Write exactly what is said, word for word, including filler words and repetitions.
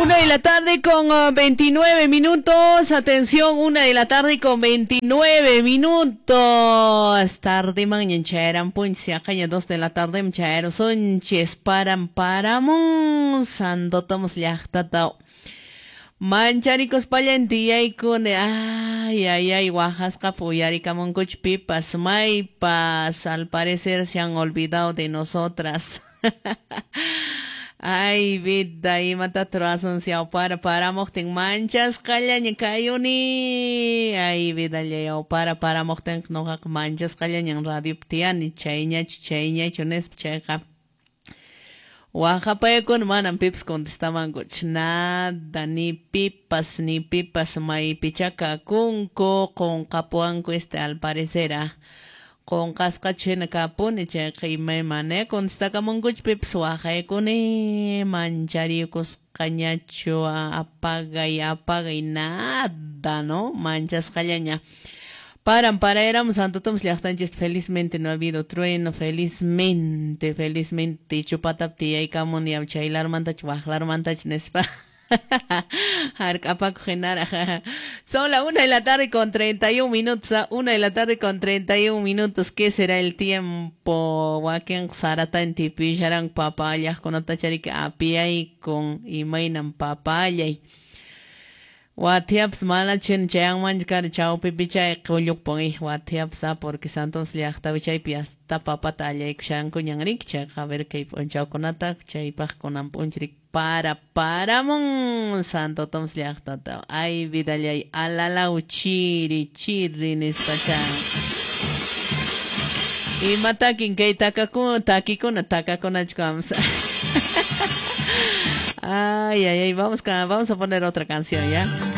Una de la tarde con uh, veintinueve minutos. Atención, una de la tarde con veintinueve minutos. Tarde mañana chayaran punchi, acá dos de la tarde chayaron sonches paran paramun. Santo Tomás llaqtata. Mancharicos pallantiyaykuni. Ay, ay, ay, waqasqa puyarikamunkuch pipas, maypas. Al parecer se han olvidado de nosotras. Ay, vida, imata ruwasun para paramuqtin manchasqallaña kayuni. Ay, vida, para paramuqtin noqaqa manchasqallañan radiopi tiyani, chayñachu, chayñachu nispa chayqa. Waqapayakuna manam pipas contestamankuchu, nada, ni pipas, ni pipas maypichá kakunku, qunqapuwanku este al parecer, ah. Qunqasqachu hina kapuni chayqa imaymana contestakamunkuchu pipas waqaykuni manchariykusqañachu apagay apagay nada, ¿no? Manchasqallaña. Paran para Santo Tomás llaqtanchis felizmente no ha habido trueno, felizmente, felizmente chupatap tiyaykamuni chaylarmantachu waqlarmantachu nispa. Son la una de la tarde con treinta y un minutos, ¿ah? Una de la tarde con treinta y un minutos. ¿Qué será el tiempo? Wakin sarata tipisharan papaya con otacharika apiay con imaynan papayay. Watiaps malachin chayanman kar chawpi pichay qullukpun watiaps porque Santos llaqtapi chaypi hasta papata allaykushanku ñanrik chayqa a ver kay p'unchawkunata chaypaq kunan p'unchrik para paramun Santo Tomás llaqtata. Ay vidallay alalaw chiri chiri nispacha. Imatakin kay takakuna takikuna takakunachu vamos. Ay, ay, ay, vamos, vamos a poner otra canción, ¿ya?